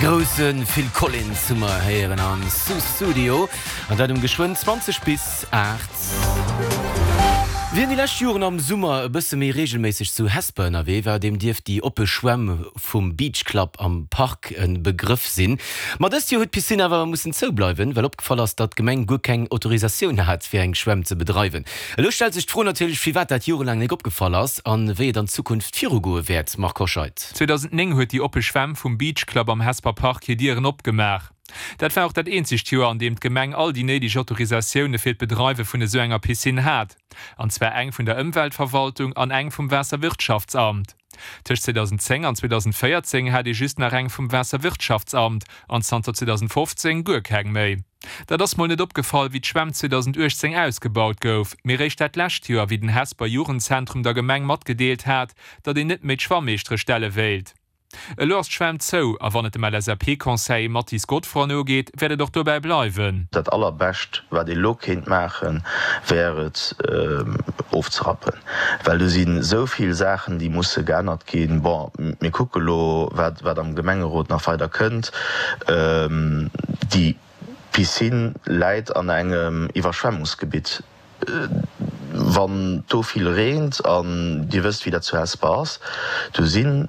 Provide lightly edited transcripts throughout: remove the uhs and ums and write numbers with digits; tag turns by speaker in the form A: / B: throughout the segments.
A: grousse Phil Collins hu mer héieren am Studio, an dat um geschwënn 20 bis 8. Wien déi lescht Joren am Summer e bësse méi reegelméisseg zu Hesper ënnerwee war, deem dierft déi oppe Schwämm vum Beach Club am Park e Begrëff sinn. Ma dëst Joer huet d'Piscine awer mussen zoubleiwen, well opgefall ass, datt d'Gemeng guer keng Autorisatioun hat, fir eng Schwämm ze bedreiwen. Elo stellt sech d'Fro natierlech, firwat dat jorelaang nik opgefall ass an wéi et an Zukunft virugoe wäert. Marc Hoscheid.
B: 2009 huet déi oppe Schwämm vum Beach Club am Hesper Park hir Dieren opgemaach. Dat war och dat eenzegt Joer, an deem d'Gemeng all déi néideg Autorisatioune fir d'Bedreiwe vun esou enger Piscine hat, an zwar eng vun der Ëmweltverwaltung an eng vum Waasserwirtschaftsamt. Tëscht 2010 an 2014 hat ee just nach eng vum Waasserwirtschaftsamt an zanter 2015 guer keng méi. Dat ass mol net opgefall, wéi d'Schwämm 2018 ausgebaut gouf, mee réischt dat lescht Joer, wéi den Hesper Jugendzentrum der Gemeng matgedeelt hat, datt een net méi d'Schwammeeschtere stelle wéilt. Elo ass d'Schwämm zou a wann et dem LSAP-Conseiller Mathis Godefroid nogeet, wäert et och dobäi bleiwen.
C: Dat allerbescht wat ee lo kéint maachen, wär et ofzerappen, well do si sou vill Saachen déi musse geännert ginn. Bon, mir kucke lo wat wat am Gemengerot nach weider kënnt. Déi Piscine läit an engem Iwwerschwemmungsgebitt. Wann do vill reent, an Dir wësst wéi dat zu Hesper ass, do sinn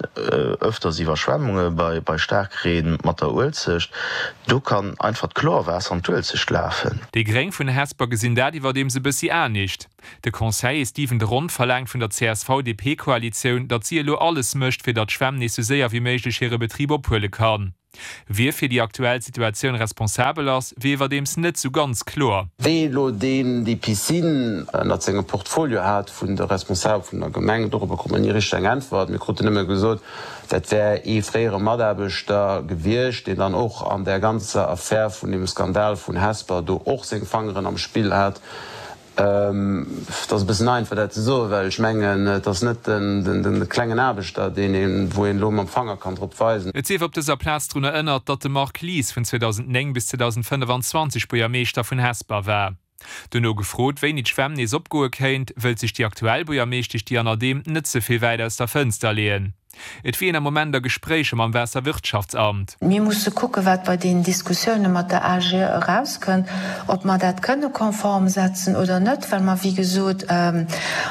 C: ëfters Iwwerschwemmunge bei Staarkreen mat der Uelzecht, do kann einfach d'Chlorwaasser an d'Uelzecht lafen.
B: Déi Gréng vun Hesper gesinn dat iwwerdeems e bëssi anescht. De Conseiller Stephen de Ron verlaangt vun der CSV-DP-Koalitioun, datt si elo alles mécht, fir datt d'Schwämm nees sou séier wéi méiglech hire Betrib ophuele kann. Wie fir déi aktuell Situatioun responsabel ass, wier iwwerdeems net sou ganz kloer.
D: Wee elo deen déi Piscine ënnert sengem Portfolio hat vun de Responsabel vun der Gemeng, dorobber krut mer ni richteg eng Äntwert. Mir kruten nëmme gesot, dat wär ee fréiere Mataarbechter gewiescht, deen dann och an där ganzer Affär vun deem Skandal vun Hesper do och seng Fangeren am Spill hat. Et ass e bëssen einfach dat ze soen, well ech mengen, et ass net de klengen Aarbechter, deen een, wou een elo mam Fanger kann drop weisen.
B: Et sief op dëser Plaz drun erënnert, datt de Marc Lies vun 2009 bis 2025 Buergermeeschter vun Hesper war. Dono gefrot, wéini d'Schwämm nees opgoe kéint, wëllt sech déi aktuell Buergermeeschtesch Diane Adehm net ze vill wäit aus der Fënster leeën. Et wier een am Moment a Gespréicher mam Waasserwirtschaftsamt.
E: Mir musse kucken, wat bei deenen Diskussioune mat der AGE erauskënnt, ob mer dat kënne konform setzen oder net, well mer, wéi gesot, an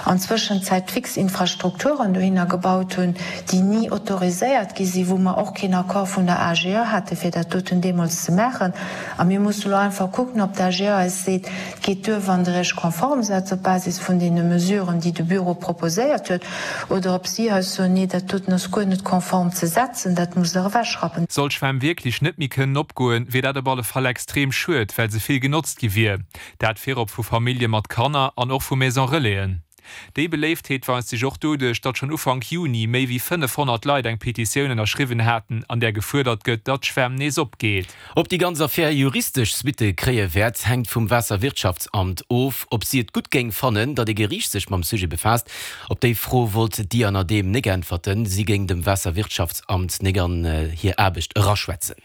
E: Zwëschenzäit fix Infrastrukturen dohinner gebaut hunn, déi ni autoriséiert gi sinn, wou mer och keen Accord vun der AGE hate fir dat doten deemools ze maachen. A mir musse elo einfach kucken, ob d'AGE eis seet, Et geet duer, wann Der Iech konform setzt op Basis vun deene Mesuren, déi de Büro proposéiert huet, oder ob si eis soen, Nee, dat doten ass guer net konform ze setzen, dat musst Der ewechrappen.
B: Sollt d'Schwämm wierklech net méi kënnen opgoen, wier dat op alle Fall extrem schued, well se vill genotzt gi wier. Dat virop vu Famillje mat Kanner an och vu Maison Relaisen. Déi Beléiftheet weist sech och doduerch, datt schonn Ufank Juni méi wéi 500 Leit eng Petitioun ënnerschriwwen haten, an där gefuerdert gëtt, datt d'Schwämm nees opgeet.
A: Ob déi ganz Affär juristesch Suitte kréie wäert, hänkt vum Waasserwirtschaftsamt of. Ob si et gutt géing fannen, datt ee Geriicht sech mam Sujet befaasst, op déi Fro wollt d'Diane Adehm nek äntwerten. Si géing dem Waasserwirtschaftsamt nek an hir Aarbecht eraschwätzen.